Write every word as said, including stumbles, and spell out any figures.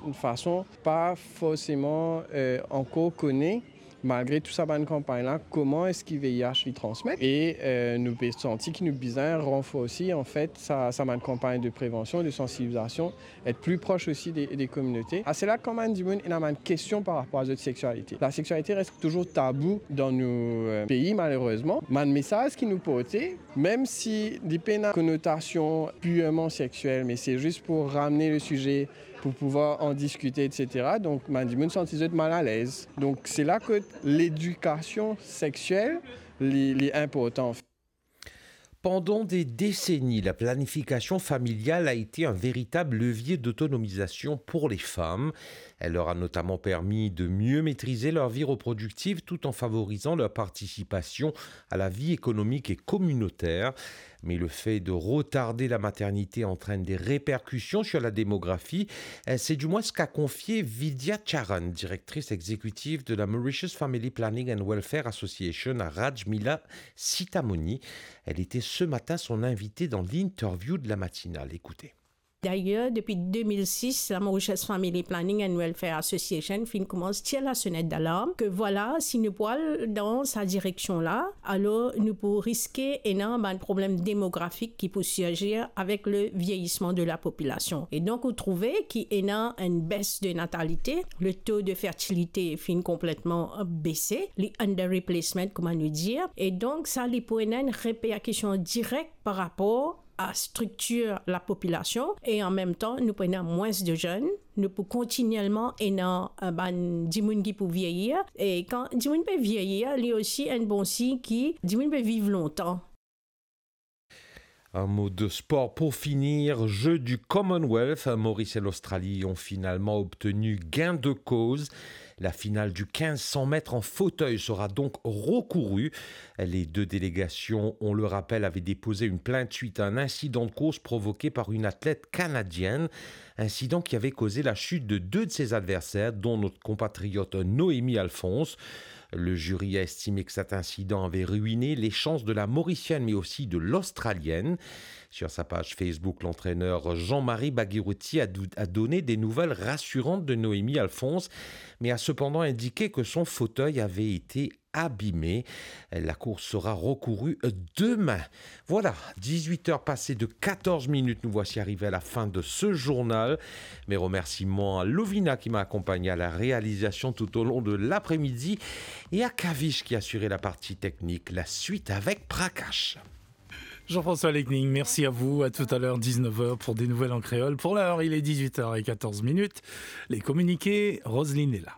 Enn fason pa forseman, eh, ankor kone, malgre tou sa bann kanpagn la, kouma eski V I H li transmet. E, eh, nou pe santi ki nou bizin ranforsi, anfet, sa, sa bann kanpagn de prevansion, de sansibilizasion, et pli pros osi de, de kominote. Ase la, kan bann dimoun ena bann kestion par rapor a zot seksualite, laseksualite res touzour tabou dan nou, eh, pei, malerezman. Bann mesaz ki nou porte, mem si li pena konotasion pirman seksuel, me se zis pou ramne le size, pou pouvwar an diskite, et cetera. Donk, bann dimoun santi zot mal alez. Donk, se la kot ledikasion seksuel, li, li inportan. Pendant des décennies, la planification familiale a été un véritable levier d'autonomisation pour les femmes. Elle leur a notamment permis de mieux maîtriser leur vie reproductive tout en favorisant leur participation à la vie économique et communautaire. Mais le fait de retarder la maternité entraîne des répercussions sur la démographie. Euh, c'est du moins ce qu'a confié Vidya Charan, directrice exécutive de la Mauritius Family Planning and Welfare Association, à Rajmila Sitamoni. Elle était ce matin son invitée dans l'interview de la matinale. Écoutez. Dayer, depi de mil sis, la Mauritius Family Planning and Welfare Association finn koumans tir lasonet dalarm ke vwala, si nou pou al dan sa direksion la, alor nou pou riske ena bann problem demografik ki pou sirzir avek le vieyisman de la popilasion. E donk, ou trouve ki ena enn bes de natalite, le to de fertilite finn konpletman bese, li underreplacement, kouma nou dir. E donk, sa, li pou ena enn reperkision direk par rapor a striktir lapopilasion e an mem tan, nou pou ena mwins de zenn, nou pou kontinielman ena, eh, bann dimoun ki pou vieyir. E kan dimoun pe vieyir, li osi enn bon sign ki dimoun pe viv lontan. Un mot de sport pour finir. Jeux du Commonwealth, Maurice et l'Australie ont finalement obtenu gain de cause. La finale du quinze cents mètres en fauteuil sera donc recourue. Les deux délégations, on le rappelle, avaient déposé une plainte suite à un incident de course provoqué par une athlète canadienne, incident qui avait causé la chute de deux de ses adversaires, dont notre compatriote Noémie Alphonse. Le jury a estimé que cet incident avait ruiné les chances de la Mauricienne, mais aussi de l'Australienne. Sur sa page Facebook, l'entraîneur Jean-Marie Bagiruti a dou-, a donné des nouvelles rassurantes de Noémie Alphonse, mais a cependant indiqué que son fauteuil avait été abîmé. La course sera recourue demain. Voilà, dix-huit heures passées de quatorze minutes, nous voici arrivés à la fin de ce journal. Mes remerciements à Lovina qui m'a accompagné à la réalisation tout au long de l'après-midi et à Kavish qui a assuré la partie technique. La suite avec Prakash. Jean-François Lecning, merci à vous. À tout à l'heure, dix-neuf heures, pour des nouvelles en créole. Pour l'heure, il est dix-huit heures et quatorze minutes. Les communiqués, Roselyne est là.